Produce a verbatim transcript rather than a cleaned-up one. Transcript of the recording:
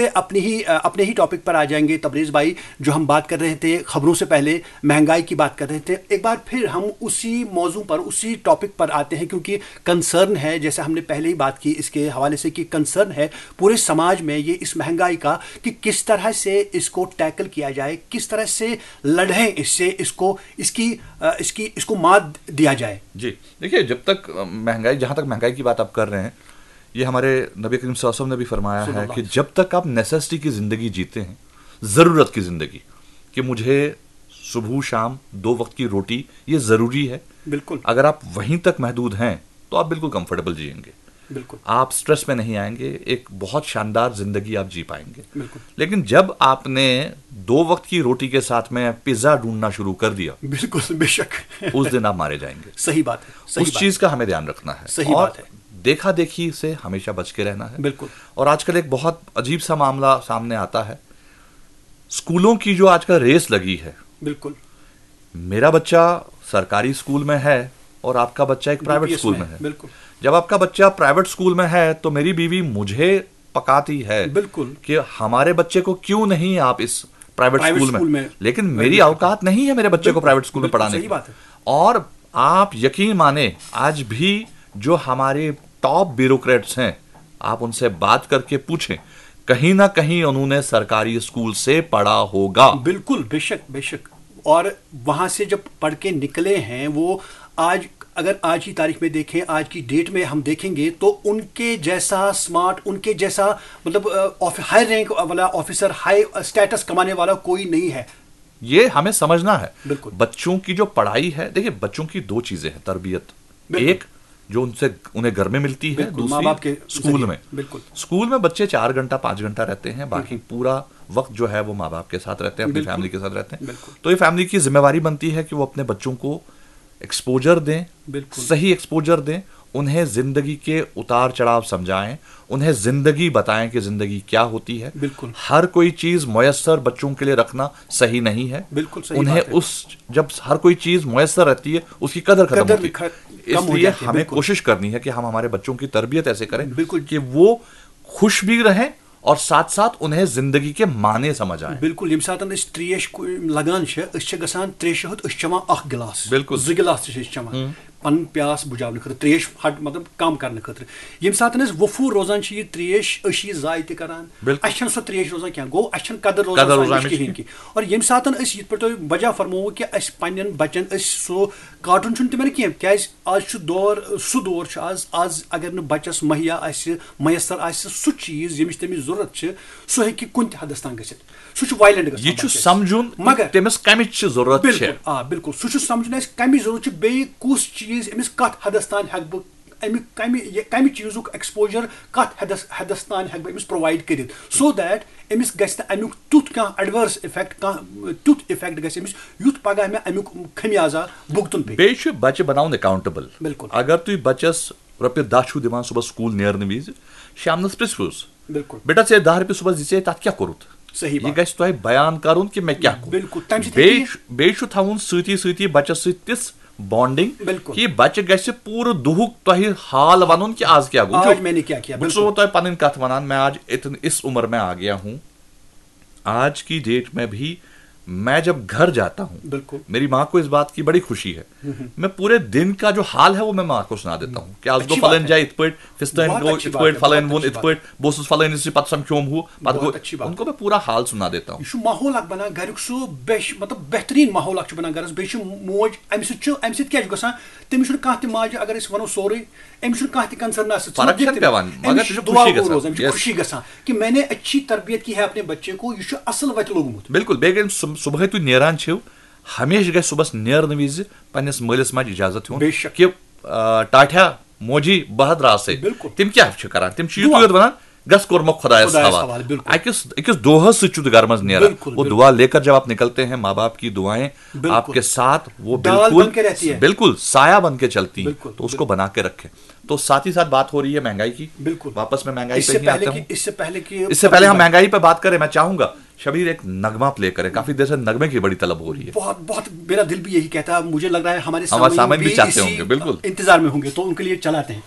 अपनी ही अपने ही टॉपिक पर आ जाएंगे, तबरेज भाई। जो हम बात कर रहे थे खबरों से पहले, महंगाई की बात कर रहे थे, एक बार फिर हम उसी मौजू पर, उसी टॉपिक पर आते हैं, क्योंकि कंसर्न है, जैसे हमने पहले ही बात की इसके हवाले से, कि कंसर्न है पूरे समाज में ये इस महंगाई का, कि किस तरह से इसको टैकल किया जाए, किस तरह से लड़ें इससे, इसको इसकी इसकी इसको मात दिया जाए। जी, देखिए, जब तक महंगाई, जहाँ तक महंगाई की बात आप कर रहे हैं, ये हमारे नबी करीम सल्लल्लाहु अलैहि वसल्लम ने भी फरमाया है कि जब तक आप नेसेसिटी की जिंदगी जीते हैं, जरूरत की जिंदगी, कि मुझे सुबह शाम दो वक्त की रोटी, ये जरूरी है। बिल्कुल। अगर आप वहीं तक महदूद हैं तो आप बिल्कुल कंफर्टेबल जिएंगे। बिल्कुल। आप स्ट्रेस में नहीं आएंगे, एक बहुत शानदार जिंदगी आप जी पाएंगे। बिल्कुल। लेकिन जब आपने दो वक्त की रोटी के साथ में पिज्जा ढूंढना शुरू कर दिया, बिल्कुल, बेशक। उस दिन आप मारे जाएंगे। सही बात है, सही उस बात चीज का हमें ध्यान रखना है। सही और बात है। देखा देखी से हमेशा बच के रहना है। बिल्कुल। और आजकल एक बहुत अजीब सा मामला सामने आता है, स्कूलों की जो आजकल रेस लगी है। बिल्कुल। मेरा बच्चा सरकारी स्कूल में है और आपका बच्चा एक प्राइवेट बीपीएस स्कूल में, में है। बिल्कुल। जब आपका बच्चा प्राइवेट स्कूल में है तो मेरी बीवी मुझे पकाती है बिल्कुल। कि हमारे बच्चे को क्यों नहीं आप इस प्राइवेट प्राइवेट स्कूल में, स्कूल में लेकिन एडमिट मेरी करते हैं। औकात नहीं है मेरे बच्चे को बिल्कुल, प्राइवेट स्कूल में बिल्कुल, पढ़ाने सही की। बात है। और आप यकीन माने, आज भी जो हमारे टॉप ब्यूरोक्रेट्स हैं, आप उनसे बात करके पूछें, कहीं ना कहीं उन्होंने सरकारी स्कूल से पढ़ा होगा। बिल्कुल, बेशक, बेशक। और वहां से जब पढ़ के निकले हैं वो, आज, अगर आज की तारीख में देखें, आज की डेट में हम देखेंगे, तो उनके जैसा स्मार्ट, उनके जैसा, मतलब, हाई रैंक वाला ऑफिसर, हाई स्टेटस कमाने वाला कोई नहीं है। ये हमें समझना है। बिल्कुल। बच्चों की जो पढ़ाई है, देखिए, बच्चों की दो चीजें हैं, तरबियत। बिल्कुल। एक जो उनसे, उन्हें घर में मिलती है, बिल्कुल, दूसरी माँ बाप के स्कूल जरिए। में। बिल्कुल। स्कूल में बच्चे चार घंटा, पाँच घंटा रहते हैं, बाकी पूरा वक्त जो है वो माँ बाप के साथ रहते हैं, अपनी बिल्कुल। फैमिली के साथ रहते हैं। बिल्कुल। तो ये फैमिली की जिम्मेवारी बनती है कि वो अपने बच्चों को एक्सपोजर दें, बिल्कुल। सही एक्सपोजर दें, उन्हें जिंदगी के उतार चढ़ाव समझाएं, उन्हें जिंदगी बताएं कि जिंदगी क्या होती है। बिल्कुल। हर कोई चीज मुयस्सर बच्चों के लिए रखना सही नहीं है। बिल्कुल सही उन्हें बात है। उस जब हर कोई चीज मुयस्सर रहती है, उसकी कदर खत्म कदर होती ख-, है। कम हो इसलिए जाती है, हमें बिल्कुल। कोशिश करनी है कि हम हमारे बच्चों की तरबियत ऐसे करें बिल्कुल। कि वो खुश भी रहें और साथ साथ उन्हें जिंदगी के माने समझ आए। बिल्कुल، ییٚمہِ ساتہٕ أسۍ ترٛیش کُ-، لگان چھِ، أسۍ چھِ گژھان ترٛیشہِ ہُتھ، أسۍ چھِ چٮ۪وان اکھ گلاس، بِلکُل۔ زٕ گلاس تہِ چھِ أسۍ چٮ۪وان۔ پنُن پیاس بُجاونہٕ خٲطرٕ، ترٛیش ہٹ-، مطلب کم کرنہٕ خٲطرٕ۔ ییٚمہِ ساتہٕ أسۍ وفوٗر روزان چھِ یہِ ترٛیش، أسۍ چھِ یہِ ضایع تہِ کران۔ بِلکُل۔ اَسہِ چھَنہٕ سۄ ترٛیش روزان کینٛہہ۔ گوٚو، اَسہِ چھَنہٕ قدر روزان قدر سۄ روزان اَمِچ اَمِچ کِہیٖنۍ کہِ۔ اور ییٚمہِ ساتہٕ أسۍ یِتھ پٲٹھۍ تۄہہِ وجہ فرمووُ کہِ اَسہِ پننٮ۪ن بچن أسۍ سُہ کاٹُن چھُنہٕ تِمن کینٛہہ، کیازِ آز چھُ دور، سُہ دور چھُ آز، آز اگر نہٕ بچس مہیا آسہِ، میسر آسہِ سُہ چیٖز ییٚمِچ تٔمِس ضروٗرت چھِ، سُہ ہیٚکہِ کُنہِ تہِ حدس تام گٔژھِتھ۔ سُہ چھُ وایلنٹ گژھان یہِ چھُ بچس۔ سمجھُن کہِ مگر تٔمِس کمِچ چھِ ضروٗرت چھِ۔ بِلکُل، آ، بِلکُل۔ سُہ چھُ سمجھُن اَسہِ کَمِچ ضروٗرت چھِ، بیٚیہِ کُس چیٖز أمِس کَتھ حدس تام ہٮ۪کہٕ بہٕ، اَمیُک کَمہِ، یہِ کَمہِ چیٖزُک ایکسپوجر کَتھ حدس، حدس تام ہٮ۪کہٕ بہٕ أمِس پرووایڈ کٔرِتھ، so that أمِس گژھِ نہٕ اَمیُک تیُتھ کانٛہہ ایڈوٲرس افیکٹ، کانٛہہ تیُتھ افیکٹ گژھِ أمِس، یُتھ پگاہ مےٚ اَمیُک خمیازہ بُگتُن پیٚیہِ۔ بیٚیہِ چھُ بچہِ بناوُن اکاؤنٹیبل۔ بِلکُل۔ اگر تُہۍ بچس رۄپیہِ دَہ چھُو دِوان صُبحس سکوٗل نیرنہٕ وِزِ، شامنس پرٛژھوُس، بِلکُل۔ بیٹا، ژےٚ دَہ رۄپیہِ صُبحس دِژے، تَتھ کیٛاہ کوٚرُتھ؟ صحیح یہِ بات۔ گژھِ تۄہہِ بیان کرُن کہِ مےٚ کیٛاہ کوٚر۔ بِلکُل، تَمہِ سۭتۍ بیٚیہِ ہیٚکہِ چھُ، بیٚیہِ چھُ تھاوُن سۭتی سۭتی بچس سۭتۍ تِژھ بانڈنگ بِلکُل۔ کہِ بچہِ گژھِ پوٗرٕ دُہُک تۄہہِ حال ونُن کہِ آز کیٛاہ گوٚو۔ آج وٕچھِو، میں نے کیا کیا، بہٕ چھُسو بِلکُل۔ تۄہہِ پنٕنۍ کتھ ونان، میں آج اتن، اس عمر میں آ گیا ہوں۔ آج کی ڈیٹ میں بھی میں جب گھر جاتا ہوں، بِلکُل۔ میری ماں کو اس بات کی بڑی خوشی ہے۔ میں پورے دن کا جو حال ہے وہ میں ماں کو سنا دیتا ہوں کہ آز گوٚو اچھی بات فلٲنۍ ہے۔ جایہِ یِتھ پٲٹھۍ، فستٲنۍ بہت گوٚو اچھی یِتھ بات پٲٹھۍ، ہے، فلٲنۍ بہت ووٚن اچھی یِتھ بات پٲٹھۍ، بہٕ اوسُس فلٲنِس نِش پتہٕ سمکھیوم ہُہ، پتہٕ بہت گوٚو، اچھی بات ان ہے۔ کو میں پورا حال سنا دیتا ہوں۔ یہِ چھُ ماحول اکھ بنان گریُک، سُہ بیش-، مطلب بہترین ماحول اکھ چھُ بنان گرس۔ بیٚیہِ چھُ موج، امہِ سۭتۍ چھُ، امہِ سۭتۍ کیٛاہ چھُ گژھان؟ تٔمِس چھُنہٕ کانٛہہ تہِ ماجہِ، اگر أسۍ ونو سورُے، أمِس چھُنہٕ کانٛہہ تہِ کنسرن آسان۔ ژٕ فرق مت دِکھ چھَنہٕ تٔمِس۔ پٮ۪وان، مگر أمِس سُہ چھُ چھُ دُعا خوشی گوٚو گژھان۔ روزان، أمِس چھُ Yes۔ خوشی گژھان کہ میں نے اچھی تربیت کی ہے اپنے بچے کو، یہِ چھُ اصل وتہِ لوٚگمُت۔ بِلکُل، بیٚیہِ گٔے ییٚلہِ صُب-، صُبحٲے تُہۍ نیران چھِو، ہمیشہِ گژھِ صُبحس نیرنہٕ وِزِ پننِس مٲلِس ماجہِ اجازت ہیوٚن بے شک۔ کہ، آ، ٹاٹھیا موجی بہٕ حظ درٛاسے۔ بِلکُل۔ تِم کیٛاہ چھِ کران؟ تِم چھِ دُعا۔ یِتُے یوت ونان، گژھ کوٚر مےٚ خۄدایس خۄدایس حوالہٕ۔ حوالہٕ، بِلکُل۔ اکس، أکِس دۄہس سۭتۍ چھُ تہٕ گرمس نیران۔ بِلکُل، وہ بِلکُل۔ دعا لے کر جب آپ نکلتے ہیں، ماں باپ کی دعائیں بِلکُل۔ آپ کے ساتھ، وہ ڈال بالکل، بن کے رہتی ہے۔ بالکل سایہ بن کے چلتی ہیں۔ بِلکُل، تو اس کو بِلکُل۔ بنا کے رکھیں۔ تو ساتھ ہی ساتھ بات ہو رہی ہے مہنگائی کی۔ بِلکُل۔ واپس میں مہنگائی اس پہ سے ہی پہلے آتا کہ، ہوں۔ اس سے پہلے کہ اس سے پہلے ہم مہنگائی پہ بات کریں، میں چاہوں گا شبیر ایک نغمہ پلے کریں۔ کافی دیر سے نغمے کی بڑی طلب ہو رہی ہے۔ بہت، بہت میرا دل بھی یہی کہتا ہے، مجھے لگ رہا ہے ہمارے ہمارے سامعین سامعین بھی بھی چاہتے اسی ہوں گے، بِلکُل۔ انتظار میں ہوں گے، تو ان کے لیے چلاتے ہیں۔